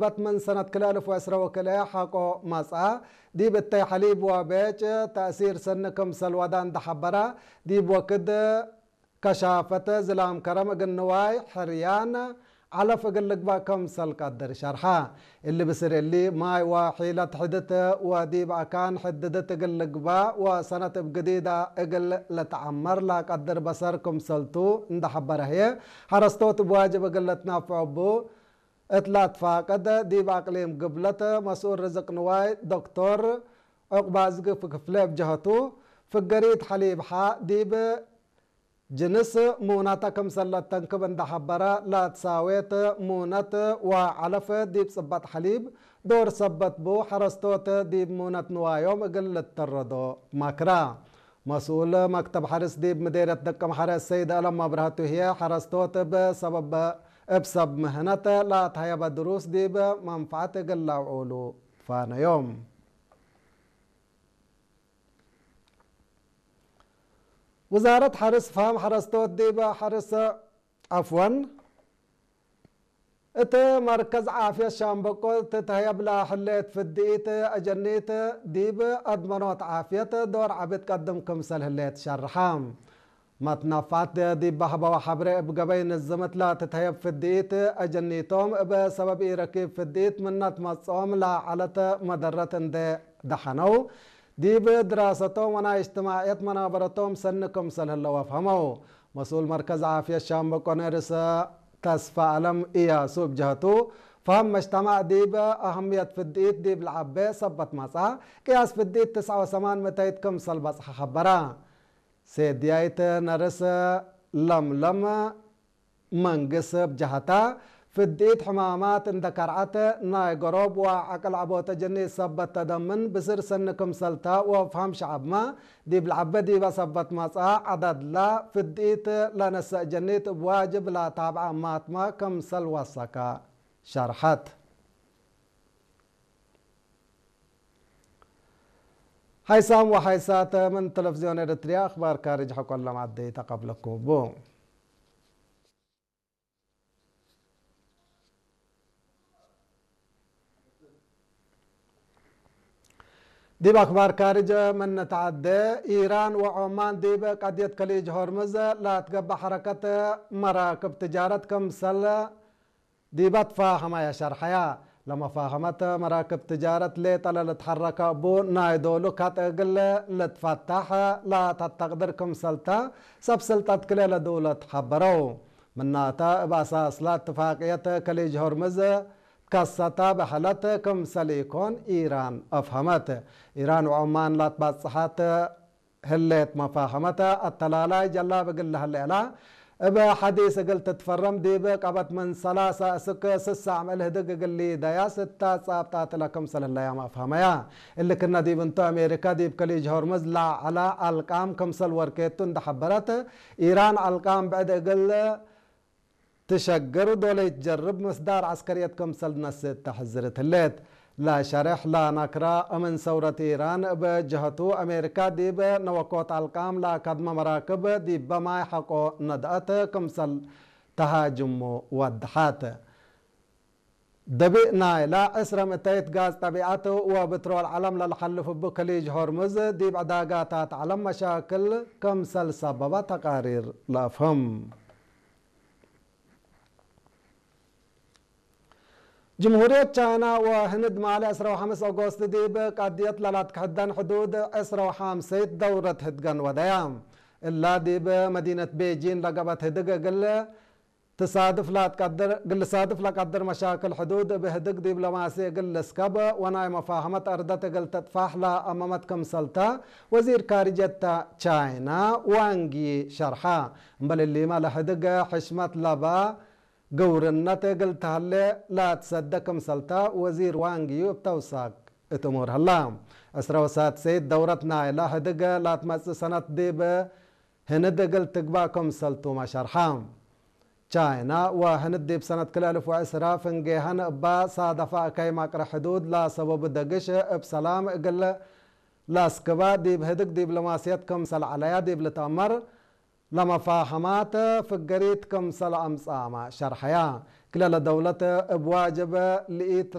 በት ምን ሰነት ክልኤ እልፍ ወዕስረ ወክልኤ ሓቆ መጽኣ፣ ዲብ እተይ ሐሊብ ወቤጭ ተእሲር ሰኒ ክምሰል ወዳ እንደ ሐበራ፣ ዲብ ወክድ ከሻፈት ዝላም ከረም እግል ንዋይ ሕርያን ዐለፍ እግል ልግባእ ክምሰል ቀድር ሸርሐ። እሊ ብስር እሊ፣ ማይ ወሒለት ሕድት ወዲብ አካን ሕድድት እግል ልግባእ ወሰነት እብ ግዲዳ እግል ልትዐመር ለቀድር በሰር ክምሰልቱ እንደ ሐበረ ህዬ፣ ሐረስቶት እብ ዋጅብ እግል ልትናፍዖ እቡ እት ለትፋቀድ፣ ዲብ አቅሊም ግብለት መስኡል ርዝቅ ንዋይ ዶክቶር ዑቅባዝጊ ክፍለ እብ ጀሀቱ፣ ፍገሪት ሐሊብ ሐ ዲብ ጅንስ ሙነት ክምሰል ለተንክብ እንደ ሐበረ፣ ለትሳዌት ሙነት ወዐለፍ ዲብ ጽበጥ ሐሊብ ዶር ሰበት ቡ፣ ሐረስቶት ዲብ ሙነት ንዋዮም እግል ልተረዶ መክረ። መስኡል መክተብ ሐርስ ዲብ ምዴርየት ደቀምሐረ ሰይድ አለም መብረህቱ ህዬ፣ ሐረስቶት እብ ሰበብ፣ እብ ሰብ ምህነት ለአትሀየበ ድሩስ ዲብ መንፈዐት እግል ለአውዑሉ ፋነዮም። ውዛረት ሐርስ ፈሀም ሐረስቶት ዲብ ሐርስ፣ ዐፍወን፣ እት መርከዝ ዓፍየት ሻምበቆ ትትሀየብ ለህሌት ፍድኢት አጀኒት ዲብ አድመኖት ዓፍየት ዶር ዐቢ ትቀድም ክምሰል ህሌት ሸርሐ። መትናፋት ዲብ በህበወ ሐብሬ እብ ገበይ ንዝምት ለትትሀየብ ፍድኢት አጀኒቶም እብ ሰበብ ኢረኪብ ፍድኢት ምነት መጽኦም ለዐለት መደረት እንዴ ደሐነው፣ ዲብ ድራሰቶም ወናይ እጅትማዕየት መናበረቶም ሰኒ ክምሰል ህለው አፍሀመው። መስኡል መርከዝ ዓፍየት ሻምበቆ ነርስ ተስፋ አለም እያሱ እብ ጀህቱ፣ ፈሀም መጅተማዕ ዲብ አህምየት ፍድኢት ዲብ ለዐቤ ሰበት መጽአ፣ ቅያስ ፍድኢት ትስዐ ወሰማን ምእተይት ክምሰል በጽሐ ሐበረ። ሴድያይት ነርስ ለምለም መንግስ እብ ጀሀታ፣ ፍድኢት ሕማማት እንደ ከርዐት ናይ ገሮብ ወዐቅል ዐቦተ ጀኒት ሰበት ተደምን ብስር ሰኒ ክምሰልታ ወፍሀም ሸዐብመ ዲብ ለዐበ ዲበ ሰበት መጽአ ዐዳድላ ፍድኢት ለነሰእ ጀኒት እብ ዋጅብ ለታብዐ እማትመ ክምሰል ወሰከ ሸርሐት። ሐይሳም ወሐይሳት ምን ተለፍዝዮን ኤረትርያ አኽባር ካርጅ ሐቆ ለማዕደይ ተቀብለኩም እቡ። ዲብ አክባር ካርጅ ምን ንትዐዴ፣ ኢራን ወዖማን ዲብ ቀድየት ከሊጅ ሆርምዝ ለትገብእ ሐረከት መራክብ ትጃረት ክምሰል ዲበ ትፋሀመያ ሸርሐያ። ለመፋሀመት መራክብ ትጃረት ሌጠ ለልትሐረከ እቡ ናይ ዶሉ ካጥ እግል ልትፈታሕ ላተተቅድር ክምሰልታ ሰብ ስልጠት ክልኤ ለድውለት ሐበረው። ምናተ እብ አሳስላ እትፋቅየት ከሊጅ ሆርምዝ ከሰታ በሐለት ክምሰል ኢኮን ኢራን አፍሀመት። ኢራን ወዖማን ላትባጽሐት ህሌት መፋሀመተ አተላላይ ጀላብ እግል ለህሌ እላ፣ እብ ሐዲስ እግል ትትፈረም ዲብ ቀበት ምን ሰላሳ እስክ ስሳዕ ምእል ህድግ እግል ሊደያስ እታ ጻብጣት እለ ክምሰል ህለያም አፍሀመያ። እሊ ክነ ዲብ እንቱ አሜሪካ ዲብ ከሊጅ ሆርምዝ ለዐላ አልቃም ክምሰል ወርኬቱ እንደ ሐበረት፣ ኢራን አልቃም ብዕድ እግል ትሸግር ዶለይት ጀርብ ምስዳር ዐስከርየት ክምሰል ነስእ ተሐዝርት ህሌት። ለሸሬሕ ለነክረ እምን ሰውረት ኢራን እብ ጀሀቱ፣ አሜሪካ ዲብ ነወኮት አልቃም ለከድመ መራክብ ዲበ ማይ ሐቆ ነድአት ክምሰል ተሃጅሙ ወድሐት። ደቢእ ናይላ ዕስረ ምእተይት ጋዝ ጠቢዐት ወብትሮል ዐለም ለልሐልፍ እቡ ከሊጅ ሆርሙዝ ዲብ ዕዳጋታት ዐለም መሻክል ክምሰል ሰበበ ተቃሪር ለአፍህም። ጅምሁርየት ቻይና ወህንድ ማሌ ዕስረ ወሐምስ ኦጎስት ዲብ ቀድየት ለላትክሕደን ሕዱድ ዕስረ ወሐምሰይት ደውረት ህድገን ወደያ። እላ ዲብ መዲነት ቤጂን ለገበት ህድግ እግል ትሳድፍ ላትቀድር፣ እግል ልሳድፍ ለቀድር መሻክል ሕዱድ እብ ህድግ ዲብሎማሲ እግል ልስከብ ወናይ መፋህመት አርደት እግል ትጥፋሕ ለአመመት ክምሰልተ ወዚር ካርጀት ቻይና ዋንግ ዪ ሸርሐ። እምበል እሊመ ለህድግ ሕሽመት ለበ ግውርነት እግል ተህሌ ላትሰደ ክምሰልተ ወዚር ዋንግ ዪ እብ ተውሳክ እት እሙር ህላ። ዕስረ ወሳድሰይት ደውረት ናይለ ህድግ ላትመጽእ ሰነት ዲብ ህንድ እግል ትግባእ ክምሰልቱመ ሸርሐ። ቻይና ወህንድ ዲብ ሰነት ክልኤ እልፍ ወዕስራ ፍንጌሀን እባ ሳደፋ እከይ መቅረ ሕዱድ ለሰበቡ ደግሽ እብ ሰላም እግል ለአስክባ ዲብ ህድግ ዲብሎማስየት ክምሰል ዐለያ ዲብ ልትአመር ለመፋህማት ፍገሪት ክምሰል አምጽአመ ሸርሐያ። ክላላ ደውለት እብ ዋጀበ ልኢት